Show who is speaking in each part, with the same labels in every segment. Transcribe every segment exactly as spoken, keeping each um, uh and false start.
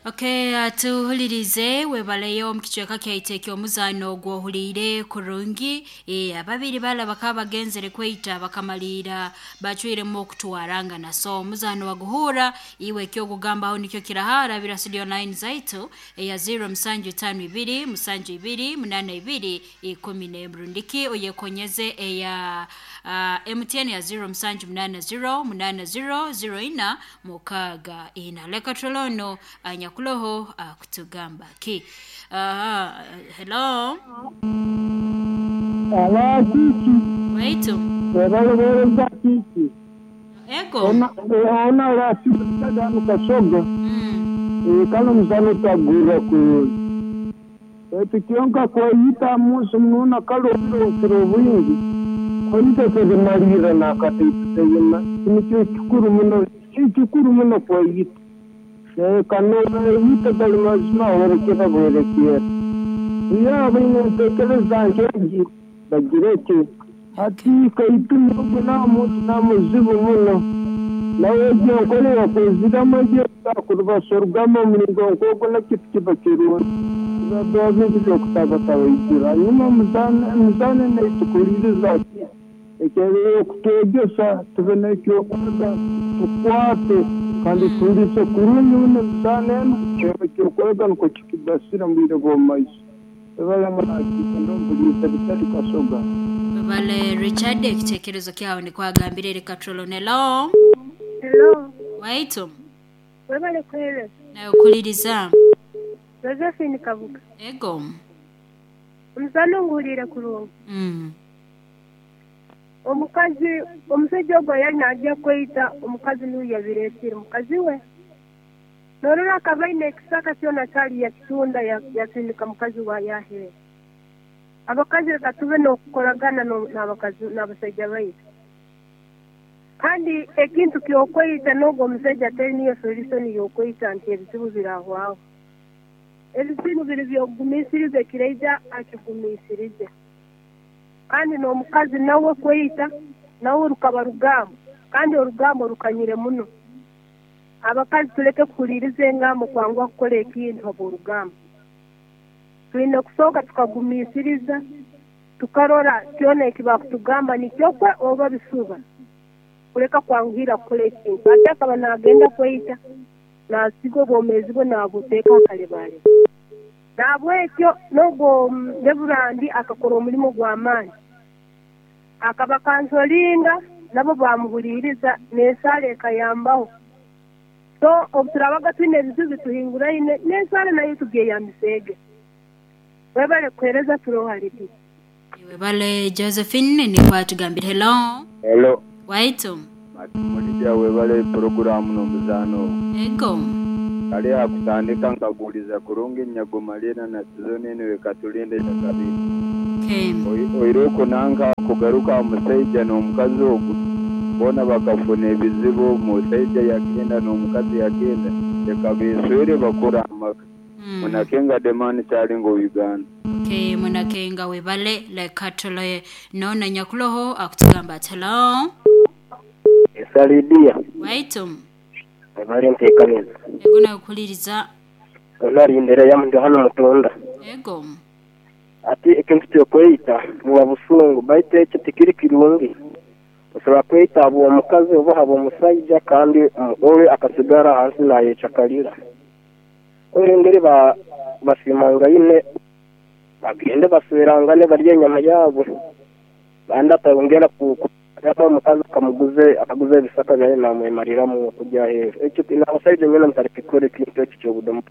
Speaker 1: Okay, atuhulirize webaleyo omu kicweka kyaitu eky'omuzaano ogwohuliire kurungi. E, ababiri bala bakaba bagenzere kweita bakamaliira bacwiremu okutwarangana. So omuzaano waguhura iwe ekyokugambaho nikyo kirahara bira studio line zaitu eya zero musanju tano ibiri musanju ibiri munana ibiri ikumi n'emu rundiki oyekonyeze eya uh, M T N ya zero musanju munana zero munana zero zero ina mukaaga ina. Leka tulono anyakuloho akutugamba ki. uh, hello
Speaker 2: Aba kiki?
Speaker 1: Waitu.
Speaker 2: Ebalobereza kiki?
Speaker 1: Ego.
Speaker 2: Ona ona rasitagano kasoga.
Speaker 1: mm.
Speaker 2: Kano muzano tagura kurungi etu kyonka kweyita musi mununa kalokiro bwingi kweyita tebimalira nakataiteyima kinikyo kikuru muno, kikuru muno kweyita. Kano weyita gali mazima werekera bwerekera yaba inentekereza nkengi bagireke ati kaituma namuntu namuzibu muno nawe egyo yakweziramu egyo kurubasorugamo omuringo nk'ogwo nakintu kiba kirungi biba bintu byokutabataba. Hanyuma emizaano netukuliriza ki okutwegesa tube n'ekyokwega tukwate kandi tuhulize kurungi muno emizaano enu ekyokwega nikwo kikibasira mu bwire bw'omu maiso. Ebalamunakindo bitali kasoga.
Speaker 1: Webale Richard, ekitekerezo kyawe nikwagambire. Reka tulonelo.
Speaker 3: Hello,
Speaker 1: waitu.
Speaker 3: Webale kuhereza.
Speaker 1: Nawe okuliriza.
Speaker 3: Josephine Kabuga.
Speaker 1: Ego.
Speaker 3: Omuzaano nguhuriire kurungi.
Speaker 1: mm.
Speaker 3: Omukazi, omusajja ogwo yali najja kweyita omukazi niwe yabireetire mukazi we. Norora akaba aine ekisaka kyona kyali yakitunda ya- yasindika mukazi wa yaheera. Abakazi reka tube n'okukoragana no- n'abakazi n'abasajja baitu. Kandi ekintu ky'okweyita n'ogwo omusajja teri niyo solution y'okweyita nti ebizibu birahwaho. Ebizibu biri byokugumiisiriza ekiraija akigumiisirize. Kandi n'omukazi nawe kweyita nawe rukaba rugambo kandi orugambo rukanyire muno. Abakazi tuleke kuhuliriza engambo kwanguha kukora ekintu habw'orugambo. Twine kusooka tukagumiisiriza tukarora kyona eki bakutugamba nikyokwe oba bisuba kuleka kwanguhira kukora ekintu. Ate akaba naagenda kweyita nasiga obwomeezi bwe naabuteeka akalebaleba. Nahabwekyo n'ogwo Reverand akakora omulimo gw'amaani. Akaba kansolinga nabo bamuhuliriza n'esaala ekayambaho. So obu turabaga twine ebizibu bituhinguraine n'esaala nayo tugyeyambiseege. Webale kuhereza, turoha Lidiya.
Speaker 1: Webale Josephine, nikwatugambire. Hello.
Speaker 4: Hello.
Speaker 1: Waitu.
Speaker 4: Mulija, webale poroguramu n'omuzaano.
Speaker 1: Ego.
Speaker 4: Kale akutandika nkaguliza kurungi nyagomalira na sizoni eno ekatulinde kabiri.
Speaker 1: Okay.
Speaker 4: Oiruko nanka kugaruka omusaija n'omukazi ogwo boona bakafuna ebizibu, omusaija yagenda n'omukazi yagenda, leka beswere bakora amaka.
Speaker 1: mm.
Speaker 4: Munakenga demani kyalinga Uganda.
Speaker 1: Okay, munakenga webale. Leka tuloye nona nyakuloho akutugamba ati hello.
Speaker 5: Esalidia.
Speaker 1: Waitu.
Speaker 5: Ebale nteekaniza.
Speaker 1: Ego, nawe okuliriza.
Speaker 5: Onarindera yamu hano mutunda.
Speaker 1: Ego.
Speaker 5: Ati ekintu kyokweyita buba busungu baitu ekyo tikiri kirungi. Osobola kweyita habwa omukazi oba habwa omusaija kandi owe akasigara hansi nayecakalira. Engeri ba basimangaine bagende baswerangane barye enyama yaabo bandi atayongera ku ku- omukazi akamuguze akaguze ebisaka byaye namwemariramu kujya aheeru. Ekyo n'abasaija nyena mutarikikora ekintu ekyo kyobudomu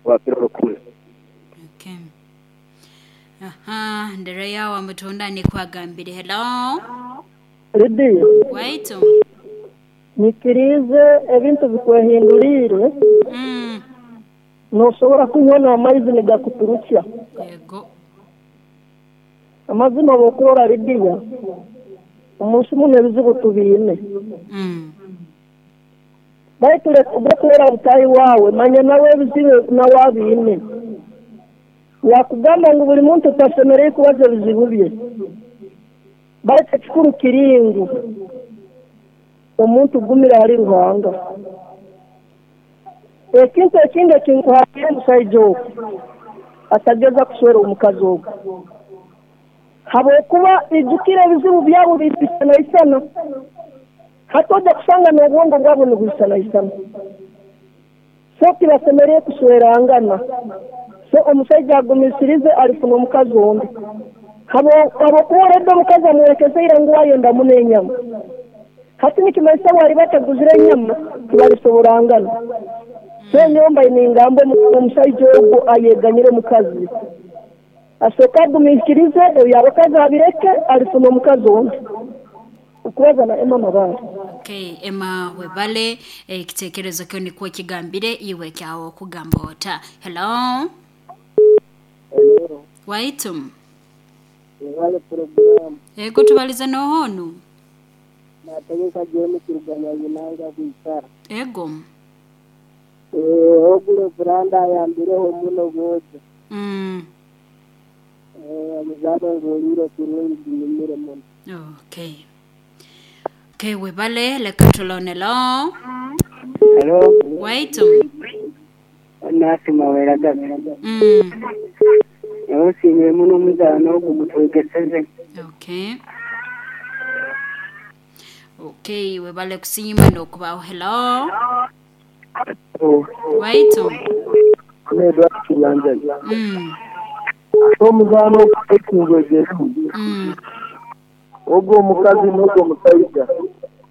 Speaker 5: bwakiro rukumi.
Speaker 1: Okay. Aha, ndereya wa mutunda nikwagambire. Hello.
Speaker 6: Lidiya.
Speaker 1: Waitu.
Speaker 6: Nyikirize ebintu bikwehinduriire.
Speaker 1: mm.
Speaker 6: Nosobora kunywa n'amaizi nigakuturukya.
Speaker 1: Ego.
Speaker 6: Amazima bw'okurora Lidiya, omunsi muno ebizibu tubiine.
Speaker 1: mm.
Speaker 6: Baitu leka obwokurora butahi waawe manya nawe ebizibu nawe abiine. Yakugamba ngu buli muntu tasemereire kubaza ebizibu bye, baitu ekikuru kiri ngu omuntu gumira hali Ruhanga. Ekintu ekindi ekinkuhaire omusaija ogu atageza kuswera omukazi ogu habwokuba ijukira ebizibu byabo biisanaisana hati ojja kusanga n'obwongo bwabo nibwisanaisana so tibasemerere kuswerangana so omusaija agumisirize alifuna omukazi ondi habwokuba oredde omukazi amwerekezeire ngu ayenda muno enyama hati nikimanyisa bwali bataguzire enyama tibalisoborangana so nyomba ningamba omusaija ogwo ayeganyire omukazi asooka agumiikirize ebyo abakazi abireke alifuna omukazi ondi okubaza na Emma Mabare.
Speaker 1: Okay, Emma webale ekitekerezo kyo nikuwa kigambire iwe kyawo kugamba ota. Hello.
Speaker 7: Hello.
Speaker 1: Waitum.
Speaker 7: Wale program.
Speaker 1: Ego tubaliza nohonu.
Speaker 7: Nategeka jeni kiruganya yinanga kuikara.
Speaker 1: Ego.
Speaker 7: Eh, ogule branda yambireho muno goje.
Speaker 1: Mm.
Speaker 7: Eh, muzano ngoliro kurungi ginyumire muno.
Speaker 1: Okay. Okay, webale lekatulone lo.
Speaker 7: Hello.
Speaker 1: Waitum.
Speaker 7: Nasi mawera gabe.
Speaker 1: Mm.
Speaker 7: Yosinye muno muzano gutwegeseze.
Speaker 1: Okay. Okay, webale kusiima nokubaho. Hello.
Speaker 2: Oh.
Speaker 1: Waitum.
Speaker 2: Nedwa kiyanja.
Speaker 1: Mm.
Speaker 2: Omuzano ekingwegerimu.
Speaker 1: Mm.
Speaker 2: Ogwo omukazi n'ogwo omusajja.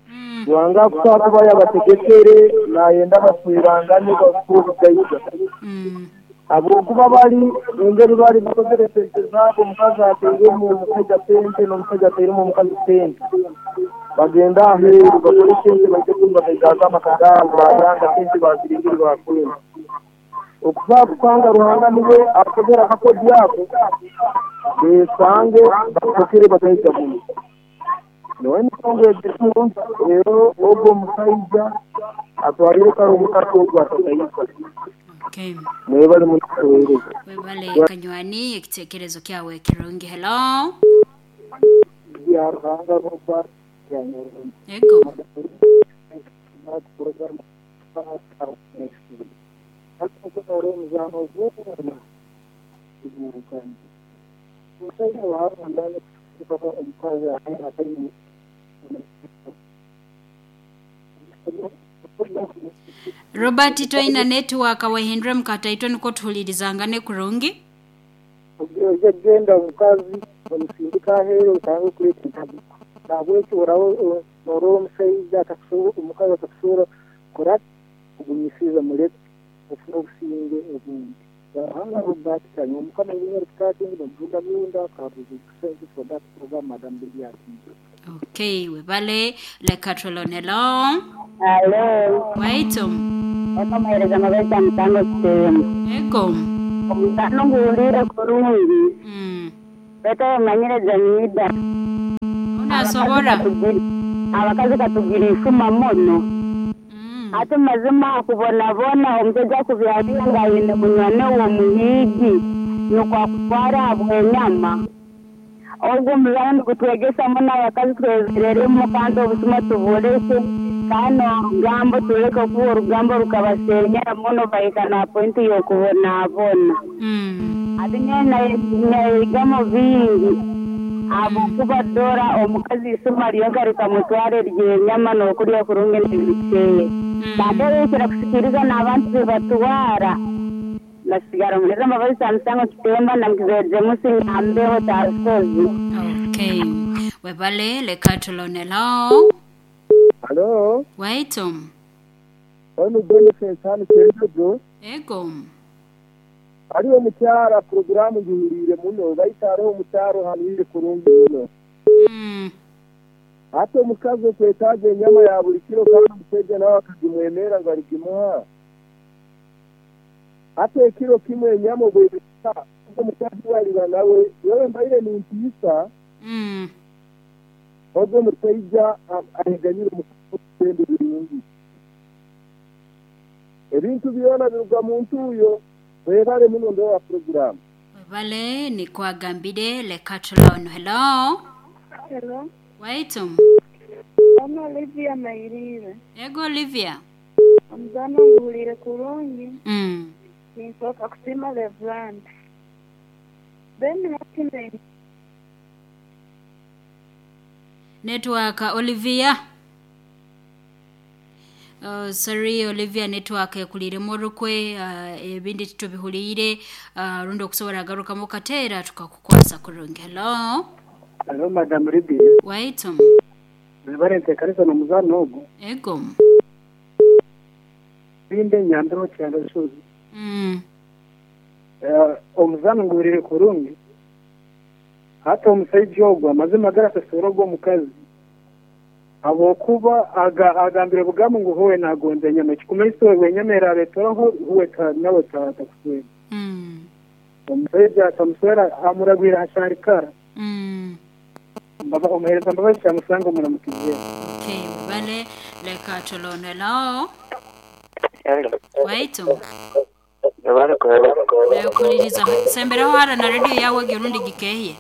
Speaker 1: Mm.
Speaker 2: Ruhanga kuba yabategekere nayenda baswirangane bakubugayiga.
Speaker 1: Mm.
Speaker 2: Habwokuba bali engeri bali bakozere sente zaabo omukazi ateiremu omusajja sente n'omusajja ateiremu omukazi sente. Bagenda aheeru bakore sente baije kumba amaka gaabo baganga sente baziringire bakwenda. Okuva kukanga Ruhanga niwe akozere akakodi ako besange bakokere bagayiga muno. Niwe emisango egirimu rero ogwo omusajja atwarire kare omukazi ogwo atatayiga.
Speaker 1: Okay.
Speaker 2: Mwebale mutuweereza.
Speaker 1: Webale kanywani ekitekerezo kyawe kirungi. Hello.
Speaker 7: Ya Ruhanga Robert
Speaker 1: Ego. Robert toina network wahindre mukataitwe niko tuhulirizangane kurungi.
Speaker 7: Ojja genda omukazi omusindika aheeru otange okuleeta entabu. Nahabwekyo oraho norora omushaija atakusobola omukazi atakusobola kukora kugumisiriza muleke ofune obusinge obundi. Ruhanga Robert kanywa omukama w'erikutatingi bamuvuga bunda kabuzi thank you for that program Madam Biliat.
Speaker 1: Okay, webale lekatulone lo.
Speaker 8: Hello.
Speaker 1: Waitum.
Speaker 8: Wakamuhereza amabesa mutano kitemu.
Speaker 1: Ego.
Speaker 8: Omutano nguwulire kurungi.
Speaker 1: Mm.
Speaker 8: Bete omanyire Jamida.
Speaker 1: Unasobora.
Speaker 8: Abakazi katugira ifuma muno.
Speaker 1: Mm.
Speaker 8: Ate mazima akubonabona omusajja akubyalira nga ayine munywani we omuhiigi nukwo akutwara abwenyama. Ogwo omuzano nigutwegesa muno abakazi twezereremu kandi obusuma tubuleke kandi orugambo tuleke okuba orugambo rukabasenyera muno bahika na pointi y'okubonabona.
Speaker 1: Mm.
Speaker 8: Ate nyowe nayigamu bingi habwokuba dora omukazi isuma lyonka rikamutwara ery'enyama n'okurya kurungi n'ebikeye. Baterekera kusikiriza n'abantu bebatwara nasigara muleza amabasa musango kitemba namkizeje musi ngambeho tasozi.
Speaker 1: Okay. Webale lekatulone lo.
Speaker 2: Hello.
Speaker 1: Waitum.
Speaker 2: Ono Boniface hano Kyenjojo.
Speaker 1: Ego.
Speaker 2: Hariho omukyara poroguramu ngihuriire muno baitu hariho omukyaro hanuire kurungi muno.
Speaker 1: Mm.
Speaker 2: Hati omukazi okwetaaga enyama ya buli kiro kandi omusajja nawe akagimwemera ngu aligimuha. Hati ekiro kimwe enyama obwebisa omukazi waliba nawe wewe mbaire nintiisa.
Speaker 1: Mm.
Speaker 2: Ogwo omusajja ahiganyire omukazi birungi. Ebintu byona biruga mu ntuuyo. Webale muno ndo wa program.
Speaker 1: Webale nikwagambire lekatulone. Hello.
Speaker 3: Hello.
Speaker 1: Waitum.
Speaker 3: Ono Olivia Mairire.
Speaker 1: Ego Olivia.
Speaker 3: Omuzano nguwulire kurungi.
Speaker 1: Mm.
Speaker 3: Ninsooka kusiima Reverand. Then hati
Speaker 1: Network Olivia. Uh, sorry Olivia, network ekuliremu orukwe, uh, ebindi titubihuliire, uh, rundi okusobola agarukamu kateera tukakukwasa kurungi. Hello.
Speaker 7: Hello Madam Libby.
Speaker 1: Waitum.
Speaker 7: Webale nteekanisa n'omuzaano ogwo.
Speaker 1: Ego.
Speaker 7: Binde nyambiro kyando shuzi.
Speaker 1: Mm.
Speaker 7: Uh, omuzaano nguwulire kurungi. Hata omusaija ogwo amazima garasasoora ogwo omukazi. Habwokuba aga agambire bugamu ngu huwe nagonza enyama, ekikumanyisa we enyama eraabetoraho huwe nawe takuswera.
Speaker 1: Mm.
Speaker 7: Omusaija atamuswera amuragwira hasharikara.
Speaker 1: Mm.
Speaker 7: Mbaba omuhereza mbabazi kyamusanga omuramukize.
Speaker 1: Okay, webale leka tulone. Hello.
Speaker 5: Hello.
Speaker 1: Waitum.
Speaker 5: Webale
Speaker 1: Kuliriza semberaho hara na radio yawe gerundi gikehye.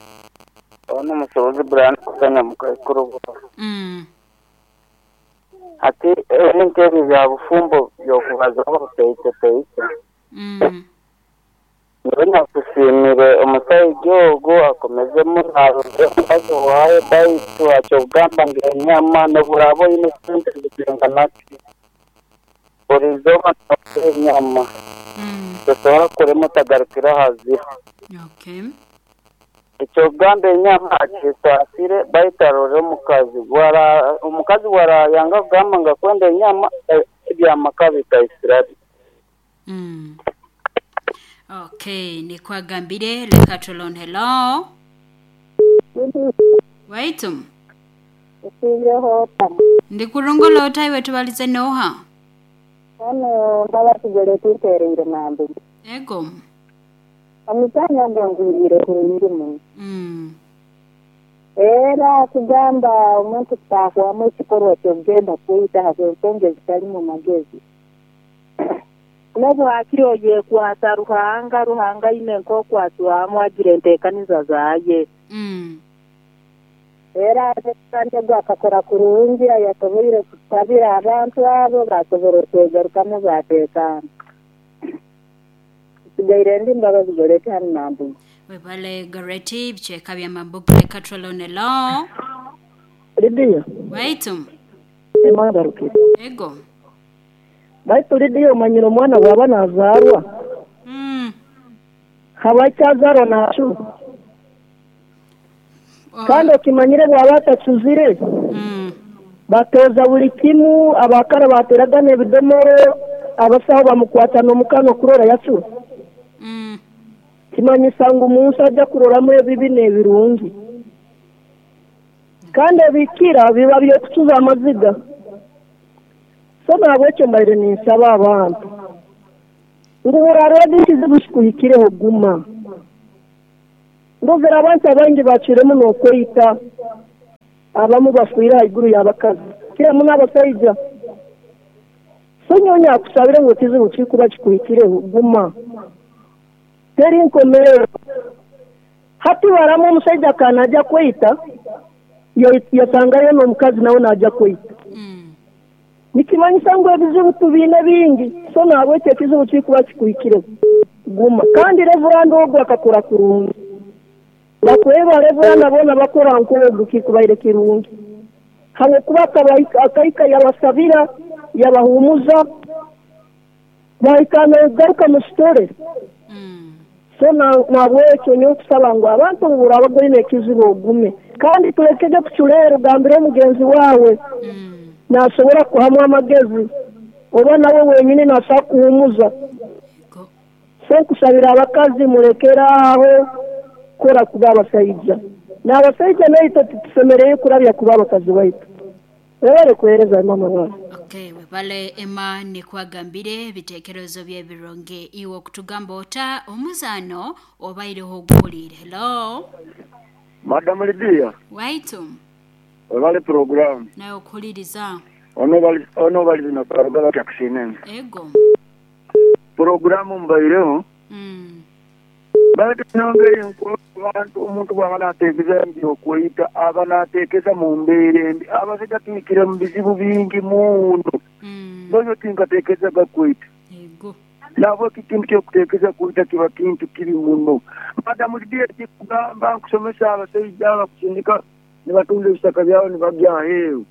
Speaker 5: Ono musobozi Brian kuzanya mukaikuru.
Speaker 1: Mm.
Speaker 5: Ati ebintu ebyo bya bufumbo byokubazaho peite peite.
Speaker 1: Mm.
Speaker 5: Niwe nakusiimire omusaija ogwo akomezemu naronde omukazi waawe baitu akyokugamba ngu enyama noburaba oine sente zikingana ki burizooba nokura enyama.
Speaker 1: Mm.
Speaker 5: Tosobola kurema otagarukire ahazira.
Speaker 1: Okay.
Speaker 5: Ekyokugamba enyama akisaasire baitu arore omukazi wara omukazi warayanga kugamba ngu akwenda enyama ebyamaka bikaisirabi.
Speaker 1: Mm. Okay, nikwagambire leka tulone. Hello. Waitum. Ndikurungulo otaiwe tubalize noha.
Speaker 8: Ono mbala tugere tutereire mambi.
Speaker 1: Ego.
Speaker 8: Omutanya ngwirire kurungi muno.
Speaker 1: Mm.
Speaker 8: Era kugamba omuntu kutahwamu ekikorwa ky'okugenda kweyita habw'ensonga ezitali mu magezi. Nobu hakiri oyekwata Ruhanga, Ruhanga aine nk'okwatwamu agira enteekaniza zaaye.
Speaker 1: Mm.
Speaker 8: Era kandi ogwo akakora kurungi ayasoboire kutabira abantu abo basobora okwegarukamu bateekaana. Sigaire ndi mbabazi Goreti hanu Mambuga.
Speaker 1: Webale Goreti bicheka bya Mambuga leka tulone. Hello.
Speaker 6: Lidiya.
Speaker 1: Waitum.
Speaker 6: Emangarukire.
Speaker 1: Ego.
Speaker 6: Baitu Lidiya omanyire omwana bw'aba nazaarwa.
Speaker 1: Mm.
Speaker 6: Haba akyazarwa nacu.
Speaker 1: Oh.
Speaker 6: Kandi okimanyire bw'aba atacuzire.
Speaker 1: Mm.
Speaker 6: Batoza buli kimu, abakara bateraga n'ebidomoro, abasaho bamukwata n'omukano kurora yacura.
Speaker 1: Mm.
Speaker 6: Kimanyisa ngu omunsi ajja kuroramu ebibi n'ebirungi. Kandi ebikira biba by'okucuza amaziga. So nahabwekyo mbaire ninsaba abantu ngu burareba ekizibu kikuhikireho guma. Ndozera abantu abangi bacwiremu n'okweyita, abamu bafiire haiguru y'abakazi kiramu n'abasaija. So nyowe nyakusabire ngu ekizibu kikuba kikuhikireho guma. Teri nkomerero. Hati baramu omusaija akanajja kweyita, yasangayo n'omukazi nawe najja kweyita.
Speaker 1: Mm.
Speaker 6: Nikimanyisa ngu ebizibu tubiine bingi. So nahabwekyo ekizibu kikuba kikuhikireho guma. Kandi Reverand ogwo akakora kurungi. Bakweba Reverand boona bakora nk'ogwo kikubaire kirungi. Habwokuba akahika yabasabira, yabahumuza, bahika nogaruka mu kitore.
Speaker 1: Mm.
Speaker 6: So nahabwekyo nyowe nkusaba ngu abantu buraba goine ekizibu ogume. Kandi tulekege kuculeera ogambire omugenzi waawe.
Speaker 1: Mm.
Speaker 6: Nasobora kuhamu amagezi oba nawe wenyini nasobola kuhumuza.
Speaker 1: Ego.
Speaker 6: So nkusabira abakazi murekere aho kora kuba abasaija. N'abasaija naitwe titusemereire kurabya kuba abakazi baitu. Webale kuheereza mama wange.
Speaker 1: Okay, webale Emma nikwagambire ebiteekerezo by'ebironge iwe okutugamba ota omuzaano obaireho oguwulire. Hello.
Speaker 4: Madam Lydia.
Speaker 1: Waitum.
Speaker 4: Webale program.
Speaker 1: Nawe okuhuliriza.
Speaker 4: Ono bali ono bali zino karugaba kyakusinene.
Speaker 1: Ego.
Speaker 4: Programu mbaireho.
Speaker 1: Mm.
Speaker 4: Baitu nongeri abantu omuntu bw'aba n'ateekeza embi okweyita aba n'ateekeza mu mbeera embi abasajja tuyikire mu bizibu bingi muno.
Speaker 2: Noyo tinkateekezaga kwita.
Speaker 1: Yego.
Speaker 2: Nabo kikintu kyokuteekeza kwita kiba kintu kibi muno. Madamu Lidia kugamba nkusomesa abasajja abakusindika nibatunda ebisaka byabo nibagya aheeru.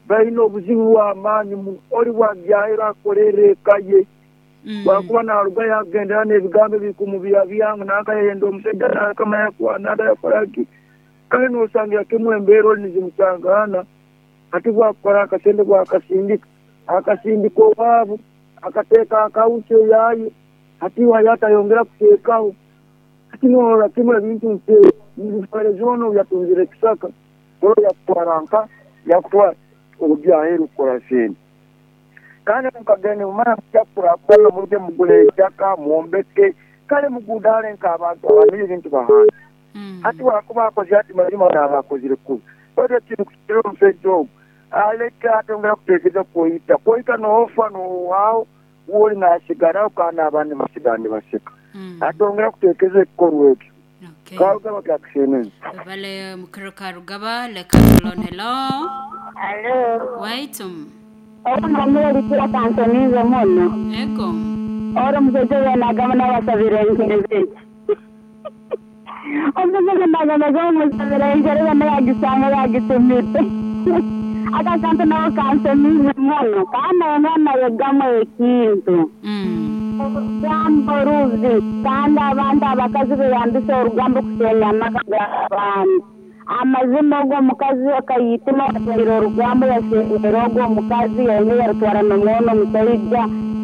Speaker 2: Balina obuzibu bw'amaanyi muno. Oli bwagya aheeru akolera eka ye. Bwakuba naruga yagendera n'ebigambo ebikumubya byangu nakayenda omusajja nakamanya kwana yakolaki. Kale n'osangira kimu embeera oli nizimusangaana. Ati bwakukora akasente bwakasindika akasindika owaabo akateeka akawunti eyaye ati wayo atayongera kuteekaho. Ati norora kimu ebintu nti nbifereza ono yatunzire ekisaka oro yakutwara nka yakutwara obujja aheeru kukora sente. Kandi mukagende mumara mukyakurakora muje mugule ettaka mwombeke kale mugudale nk'abantu abamire ebintu bahanga. Hati wakuba akoze ati mazima naaba akozire kubi. Oyo ekintu kukira omusajja ogwo aleka atongera kuteekeza kwoyita kwoyita n'ofa n'owaawo woli nasigaraho kandi abandi basigara nibaseka. Atongera kuteekeza ekikorwa ekyo. Karugaba kyakushemeza.
Speaker 1: Bale mukiro Karugaba leka tulon hello.
Speaker 8: Hello.
Speaker 1: Waitum.
Speaker 8: Ono mulekira kansonize muno.
Speaker 1: Ego.
Speaker 8: Oro muzeje yanagamba n'abasabira enkereze. Omuzeje yanagamba n'abasabira enkereze nayagisanga yagitumite. Akakantu nawe kansonize muno kandi omwana yegamu ekintu. Orugambo rubi kandi abantu abakazi beyambisa orugambo kusenya amaka g'abantu. Amazima ogwo omukazi akayitima atwaire orugambo yasenyera ogwo omukazi yaine yarutwara n'omwono omusaija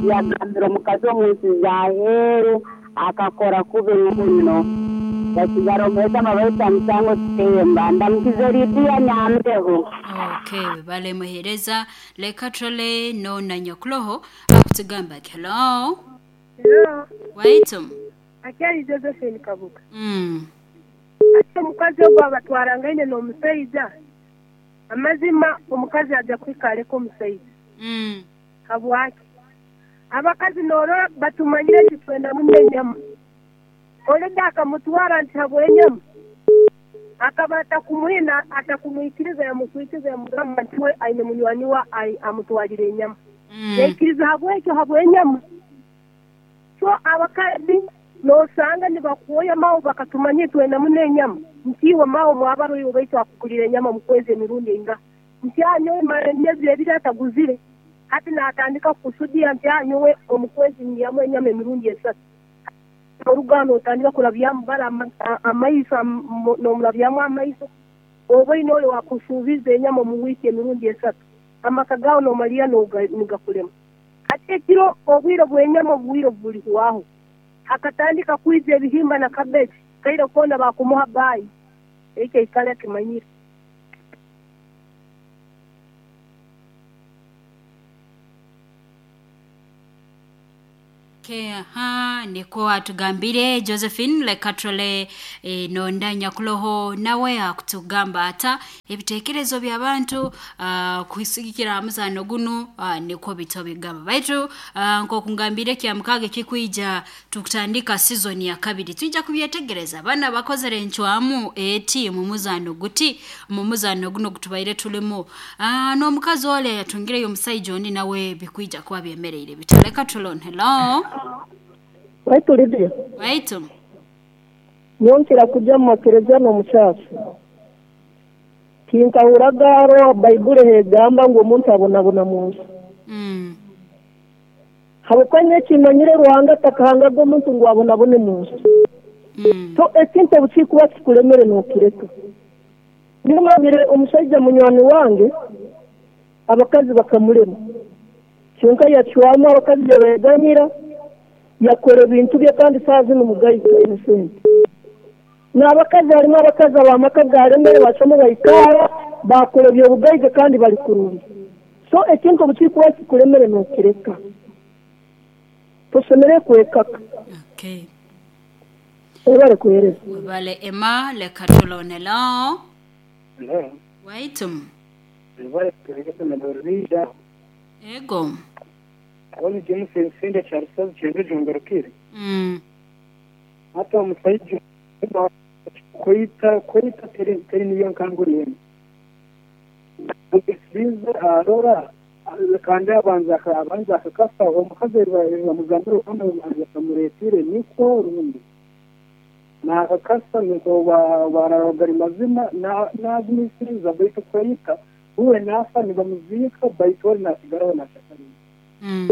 Speaker 8: yagambira omukazi omunsi z'aheeru akakora kubi muno. Yasigara omuheta amabaita musango kitemba ndamukize Lidia Nyambeho.
Speaker 1: Okay, bale muhereza leka trole no na nyakuloho akutugamba hello.
Speaker 3: Hello.
Speaker 1: Waitum.
Speaker 3: Akyali Josephine Kabuka.
Speaker 1: Mm.
Speaker 3: Ate omukazi ogwo abatwarangaine n'omusaija amazima omukazi ajja kwikaleko omusaija.
Speaker 1: Mm.
Speaker 3: Habwaki abakazi norora batumanyire nti twenda muno enyama. Oleda akamutwara nti habw'enyama akaba atakumuhina atakumwikiriza yamukwikiriza yamugamba nti we aine munywani wa amutwalire enyama.
Speaker 1: Mm.
Speaker 3: Yaikiriza habwekyo habw'enyama. So abakazi nosanga nibakuoya mawo bakatumanye twenda muno enyama ntiwe mawo mwabaro baitu akukulira enyama mukwezi emirundi enga nti anyowe mara emyezi ebiri ataguzire hati natandika kusudia nti anyowe omukwezi nyamu enyama emirundi esatu. Orugano otandika kurabyamu bara amaiso nomurabyamu amaiso oba ine ole wakusuubiza enyama mu wiiki emirundi esatu amaka gawe nomaliya nigakulema. Hati ekiro obwire bw'enyama obwire buli kuwaho akatandika kwiza ebihimba na cabbage kaire kona bakumuha bayi ekyo ikale kimanyire.
Speaker 1: Okay, aha, niko atugambire Josephine lekatrole e, nonda nyakuloho nawe akutugamba ata ebitekerezo by'abantu uh, kusigikira amuzano guno uh, niko bito bigamba baitu uh, nko kungambire kya mukage kikuija tukutandika season ya kabiri tuija kubyetegereza bana bakozere encwamu eti mu muzano guti mu muzano guno gutubaire tulimo uh, no mukazi ole yatungireyo omusajja ondi nawe bikuija kuba byemereire bitaleka tulon hello.
Speaker 6: Waitu Lidia.
Speaker 1: Waitu.
Speaker 6: Nyonkera kujja mu makereza n'omukyasi. Tinkahuragaro Baibuli hegamba ngu omuntu abonabona mu nsi.
Speaker 1: Mm.
Speaker 6: Habwokuba ekimanyire Ruhanga atakahangaga omuntu ngu abonabone mu nsi.
Speaker 1: Mm.
Speaker 6: So ekintu obukikuba kikulemere n'okireka. Nimanyire omusajja munywani wange abakazi bakamulema. Kyonka yacwamu abakazi yabeganyira yakora ebintu bye kandi saa zino mugaiga sente. N'abakazi harimu abakazi abamaka garemere basoma bayikara bakora ebyobugaiga kandi bali kurungi. So ekintu obukikuba kikulemere n'okireka. Tosomere kwekaka.
Speaker 1: Okay.
Speaker 6: Ebale kuhereza.
Speaker 1: Webale Emma lekatulonelo.
Speaker 7: Hello.
Speaker 1: Waitum.
Speaker 7: Ebale kuhereza na
Speaker 1: Ego.
Speaker 7: Abali James Sende Charles Chenge
Speaker 1: Mm.
Speaker 7: Hata omusajja kwita kwita teri teri niyo nkanguriye. Ogesiza arora Kandi abanza abanza akakasa omukazi bamugambira okwana bakamureetire nikwo rundi nakakasa niko bararogari mazima nagumisiriza baitu kweyita uwe nafa nibamuziika baitu oli nasigaraho nasakarira.
Speaker 1: Mm.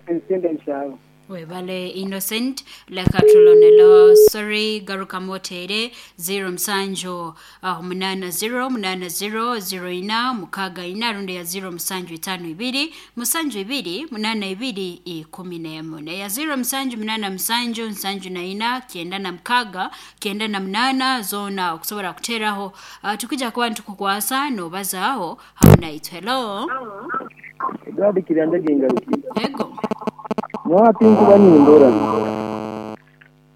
Speaker 7: Ensenda.
Speaker 1: Webale Innocent leka tulonelo sorry garuka motere zero musanju uh, munana zero munana zero zero ina mukaga ina rundi ya zero musanju itano ibiri musanju ibiri munana ibiri ikumi n'emu na ya zero musanju munana musanju nsanju na ina kienda na mukaga kienda na munana zona okusobola kuteraho uh, tukija kuba ntukukwasa nobazaho hamwe naitwe. Hello.
Speaker 2: Gadi kiranda gengaruki.
Speaker 1: Ego.
Speaker 2: Mwati nkuba nindora.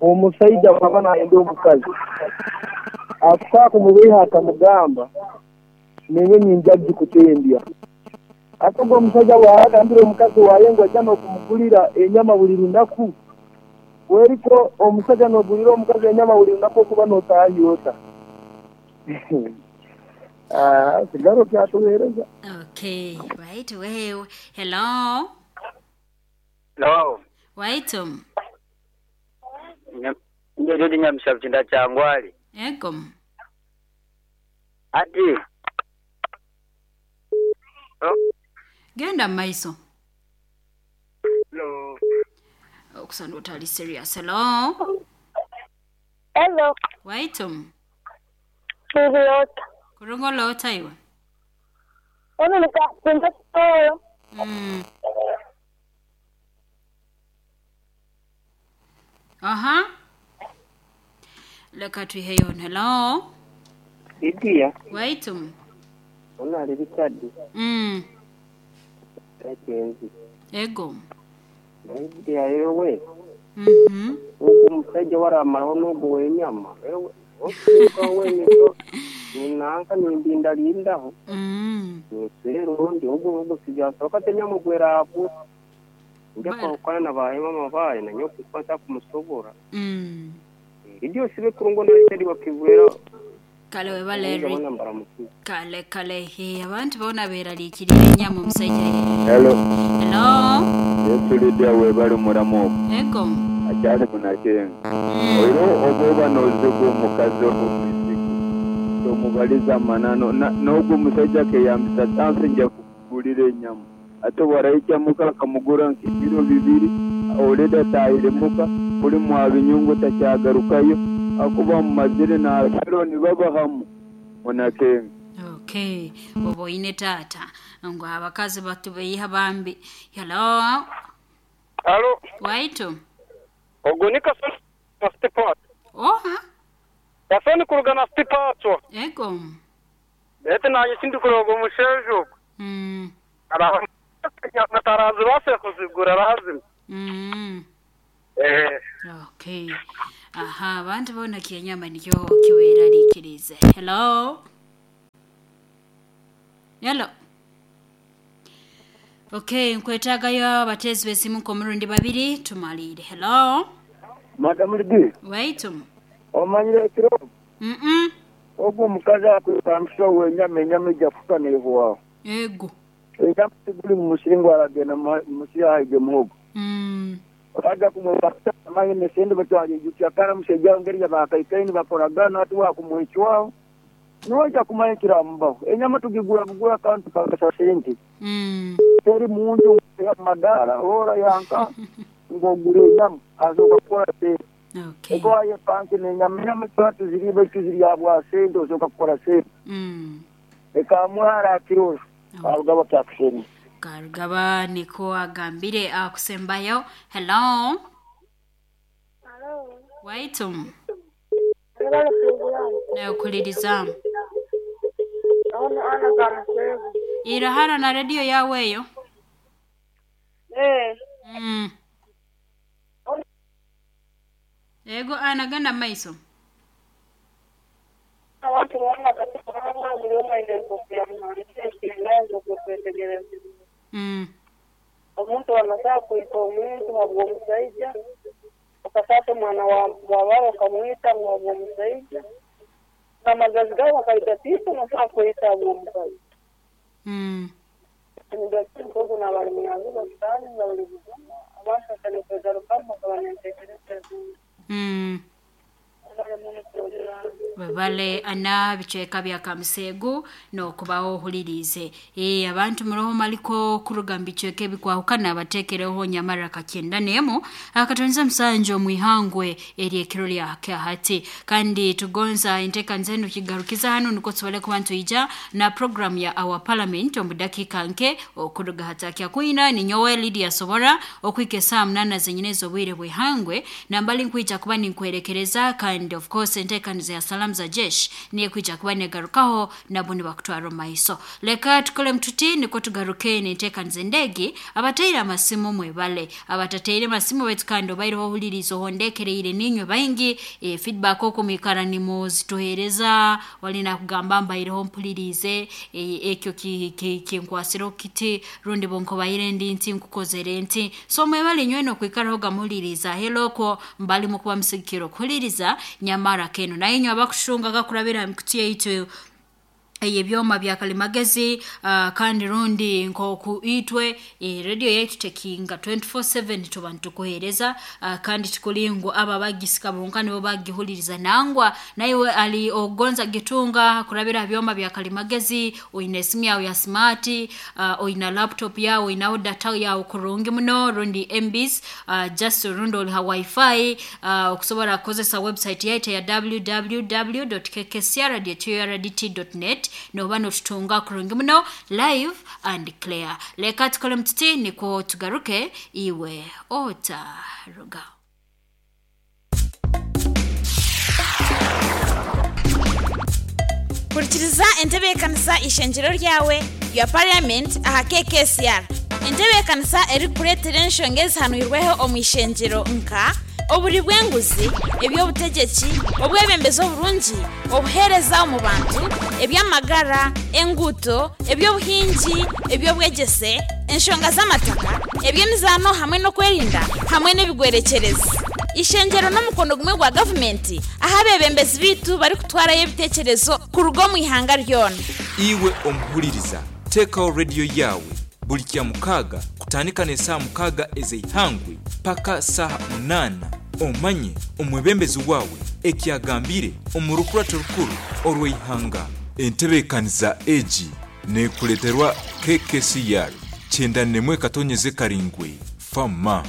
Speaker 2: Omusaija baba nayenda omukazi. Akusa kumubiha akamugamba nenye ninjaji kutembya. Akogo omusaija wagambira omukazi waye ngo ajja n'okumugulira enyama buli lunaku. Weriko omusaija n'ogulira omukazi enyama buli lunaku okuba n'otaayota. Ah, sigaro kyatuweereza.
Speaker 1: Okay, right wewe. Hello.
Speaker 9: Hello.
Speaker 1: Waitum.
Speaker 9: Ndio nyamusha kyangwali.
Speaker 1: Ego.
Speaker 9: Ati. Oh.
Speaker 1: Genda maiso.
Speaker 9: Hello.
Speaker 1: Okusanda otali serious. Hello.
Speaker 3: Hello.
Speaker 1: Waitum.
Speaker 3: Kulota.
Speaker 1: Kurungolota iwe.
Speaker 3: Ono nikakumba toyo.
Speaker 1: Mm. Aha. Leka tuiheyo. Hello.
Speaker 5: Idia.
Speaker 1: Waitum.
Speaker 5: Ona ali Richard.
Speaker 1: Mm.
Speaker 5: Kakenzi.
Speaker 1: Ego.
Speaker 5: Idia yewe.
Speaker 1: Mhm.
Speaker 5: Ugu musajja waramalaho n'ogu w'enyama. Ewe. Okuka weniko. Ninanka nimbinda lindaho.
Speaker 1: Mm.
Speaker 5: Nisero ndi ugu ugu sijasoka tenyama gwera apo. Njako kwana na bae mama bae na nyoku kwata kumusobora.
Speaker 1: Mm.
Speaker 5: Idio sibe kurungo na Richard wakivwera.
Speaker 1: Kale webale kale kale he abantu bona beraliikirira enyama omusajja.
Speaker 4: Hello.
Speaker 1: Hello.
Speaker 4: Yesu Lydia webale muramu.
Speaker 1: Ego.
Speaker 4: Akyali munakenga. Oiro oboba nozigu omukazi omuisiki. Omubaliza manano n'ogwo omusajja keyambisa tansi nja kugulira enyama. Ate waraikya muka akamugura nk'ebiro bibiri oleda taahire muka kuli mwabinyungu takyagarukayo akuba mumazire n'afero nibabahamu munakenga.
Speaker 1: Okay, obo ine tata ngo abakazi batubeyiha bambi. Hello.
Speaker 10: Hello.
Speaker 1: Waitu.
Speaker 10: Ogo ni kasoni na stipat.
Speaker 1: Oha.
Speaker 10: Kasoni kuruga na stipat.
Speaker 1: Ego.
Speaker 10: Ete na yisindi kurogo mushejo.
Speaker 1: Mm.
Speaker 10: Ara natarazi base kuzigura razim.
Speaker 1: Mm.
Speaker 10: Eh.
Speaker 1: Okay. Aha, abantu bona kyenyama nikyo kiweraliikirize. Hello. Hello. Okay, nkwetagayo abatezi besimu komurundi babiri tumalire. Hello.
Speaker 2: Madam Lidi.
Speaker 1: Waitum.
Speaker 2: Omanyire kiro.
Speaker 1: Mhm.
Speaker 2: Ogwo omukazi akwepangisa wenyama enyama ejja kufa neehwaho.
Speaker 1: Ego.
Speaker 2: Enyama tiguli mu musiri ngu aragenda musiri ahige muhogo.
Speaker 1: Mm.
Speaker 2: Baja kumwepangisa amahine sente batwalijukya kara musajja ngeri yabakaikaini bakoragana ati wakumwecwaho. Noja kumanya kiramubaho. Enyama tugigura kugura kantu kakasa sente.
Speaker 1: Mm.
Speaker 2: Teri muntu madara ora yanka ngogure enyama azoka kukora sente.
Speaker 1: Okay.
Speaker 2: Ego ayepanke nenyama enyama tuziribe tuziri sente ozoka kukora sente.
Speaker 1: Mm.
Speaker 2: Ekamwara akirosho. Karugaba kyakusheni.
Speaker 1: Karugaba niko agambire akusembayo. Hello.
Speaker 3: Hello.
Speaker 1: Waitum. Nakuliriza. Irahara na radio yawe eyo.
Speaker 3: Eh.
Speaker 1: Mm. Ego anaganda maiso.
Speaker 3: Abantu bona
Speaker 1: Mm.
Speaker 3: Omuntu anasaa kuita omuntu habw'omusaija okasata omwana wa baba okamwita ngu habw'omusaija n'amagazi gaabo bakaita tiisa nosaa kwita habw'omukazi.
Speaker 1: Mm.
Speaker 11: Ndogo na bali munyazigo kitani bali buzima abashakanye kwegarukamu bakaba n'entekereza ezindi.
Speaker 1: Mm. Babale ana bicweka bya kamusegu nokubaho ohulirize e, abantu muroho maliko kuruga mu bicweka ebikwahukana batekereho nyamara kakyenda nemu akatonza musanje omwihangwe eri ekiro lya hati kandi tugonza enteekaniza enu kigarukiza hano niko tusobole kuba ntuija na program ya our parliament omu dakiika nke okuruga hatakya kwina ninyowe Lydia Sobora okwika esaa munana zenyine ez'obwire bwihangwe nambali nkwija kuba ninkwerekereza kandi of course enteekaniza ya salamu za jeshi niye kwija kuba negarukaho nabo nibakutwara omu maiso. Leka tukole mtuti niko tugaruke nenteekaniza endegi abataire amasimu mwebale abatateire masimu baitu kandi obaireho ohuliriza ohondekereire ninywe baingi e, feedback okumwikara nimuzituhereza walina kugamba mbaireho mpulirize e, ekyo kinkwasire ki, ki kiti rundi bonkobaire ndi nti nkukozere nti so mwebale nywe nokwikaraho gamuhuliriza heloko mbali mukuba musigikiro kuhuliriza nyamara keno naye inywe abakushunga gakurabira mikuti yaitu ebyoma bya kalimagezi uh, kandi rundi nkoku itwe e, radio yaitu tekinga twenty-four seven tuba ntukuhereza uh, kandi tukulingu aba bagisika bonka nibo bagihuliriza nangwa naiwe ali ogonza gitunga kurabira byoma bya kalimagezi oine simu yawe ya smart uh, oina laptop yawe oinaho data yawe kurungi muno rundi M Bs uh, just rundi oli ha wifi uh, okusobola kukozesa website yaitu ya w w w dot k k c r dot u r d t dot net noba notutunga kurungi muno live and clear. Leka tukole mtuti niko tugaruke iwe otaruga.
Speaker 12: Kurikiriza entebeekanisa ishengyero ryawe ya parliament aha K K C R. Entebeekanisa erikureetera enshonga ezihanwirweho omu ishengyero nka oburi bw'enguzi, eby'obutegyeki, obwebembezi oburungi, obuheereza omu bantu, eby'amagara, enguuto, eby'obuhingi, eby'obwegyese, enshonga z'amataka, eby'emizaano hamwe n'okwerinda hamwe n'ebigwerekyerezi. Ishengyero n'omukono gumwe gwa gavumenti aho abebembezi biitu barikutwarayo ebiteekyerezo kuruga omu ihanga ryona.
Speaker 13: Iwe omuhuliriza, teekaho rediyo yawe buli kya mukaaga kutandika n'esaaha mukaaga ez'eihangwe paka saaha munaana omanye omwebembezi wawe ekyagambire omu rukurato rukuru orw'eihanga. Entebeekaniza egi neekuleeterwa K K C R kyenda nemwe katonyeze karingwe fama.